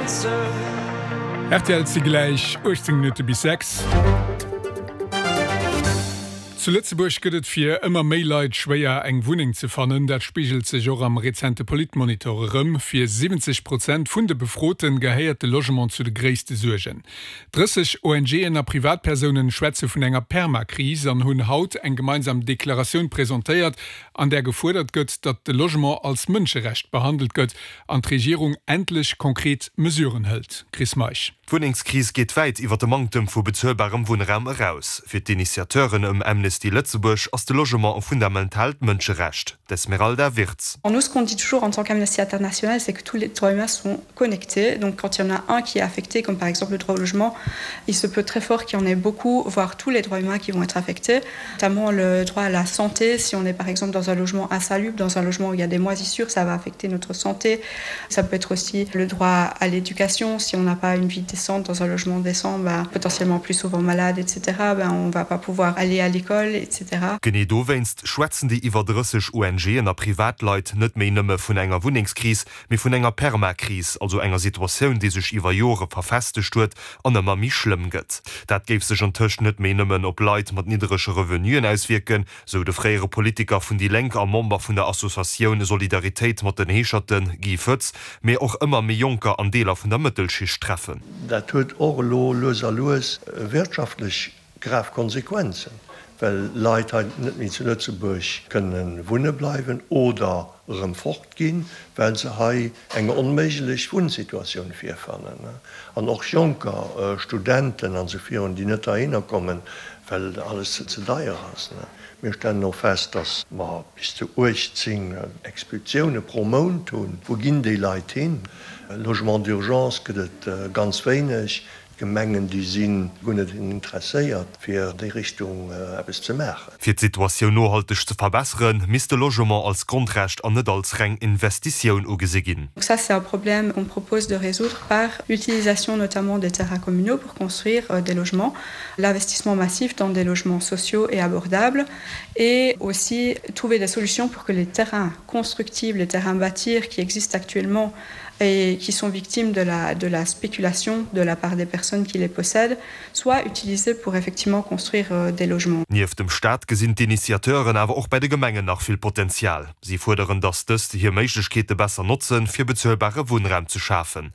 Rtl, Et si gläich 18 Minutte bis 6. Zu Lëtzebuerg gëtt et fir ëmmer méi Leit schwéier, eng Wunneng ze fannen. Dat spigelt sech och am rezente Politmonitor erëm. Fir 70 Prozent vun de Befrote gehéiert de Logement zu de gréisste Suergen. 30 ONGen a Privatpersounen schwätze vun enger Permakris an hunn haut eng gemeinsam Deklaratioun presentéiert, an där gefuerdert gëtt, datt de Logement als Mënscherecht behandelt gëtt an d'Regierung endlech konkret Mesuren hëlt. Chris Meisch. D'Wunnengskris geet wäit iwwer de Manktem vu bezuelbarem Wunnraum eraus. Fir d'Initiateuren ëm Amnesty Lëtzebuerg ass de Logement e fundamentaalt Mënscherecht. D'Esmeralda Wirtz. Nous, ce qu'on dit toujours en tant qu'Amnesty International, c'est que tous les droits humains sont connectés. Donc quand il y en a un qui est affecté, comme par exemple le droit au logement, il se peut très fort qu'il y en ait beaucoup, voire tous les droits humains qui vont être affectés, notamment le droit à la santé. Si on est par exemple dans un logement insalubre, dans un logement où il y a des moisissures, ça va affecter notre santé. Ça peut être aussi le droit à l'éducation. Si on n'a pas une vie décente dans un logement décent, bah, potentiellement plus souvent malade, etc. Ben, on va pas pouvoir aller à l'école, etc. Genee dowéinst schwätzen déi iwwer 30 ONGen a Privatleit net méi nëmme vun enger Wunnengskris, mee vun enger Permakris, also enger Situatioun, déi sech iwwer Jore verfestegt huet an ëmmer méi schlëmm gëtt. Dat géif sech antëscht net méi nëmmen op Leit mat nidderege Revenuen auswierken, sou de fréiere Politiker vun déi Lénk a Member vun der Associatioun Solidaritéit mat den Heescherten, Guy Foetz, mee och ëmmer méi Jonker an Deeler vun der Mëttelschicht treffen. Dat huet och elo lues a lues wirtschaftlech grav Konsequenzen, well Leit hei net méi zu Lëtzebuerg kënne wunne bleiwen oder erëm fort ginn, well se hei eng onméiglech Wunnsituatioun virfannen. An och Jonker, Studenten an esou virun, déi net heihinner kommen, well alles ze deier ass. Mir stellen och fest, datt mer bis zu 18 Expulsioune pro Mount hunn. Wou ginn déi Leit hin? Logement d'urgence gëtt et ganz wéineg. D'Gemengen, déi si guer net interesséiert, fir déi Richtung eppes ze maachen. Fir d'Situatioun nohalteg ze verbesseren, misst de Logement als Grondrecht an net als reng Investitioun ugesi ginn. Donc ça, c'est un problème qu'on propose de résoudre par l'utilisation notamment des terrains communaux pour construire des logements, l'investissement massif dans des logements sociaux et abordables et aussi trouver des solutions pour que les terrains constructibles, les terrains bâtir qui existent actuellement et qui sont victimes de la, de la spéculation de la part des personnes qui les possèdent, soient utilisés pour effectivement construire euh, des logements. Nieft dem Staat gesinn d'Initiateuren awer och bei de Gemengen nach vill Potenzial. Si fuerderen, datt dës hir Méiglechkeete besser notzen, fir bezuelbare Wunnraum ze schafen.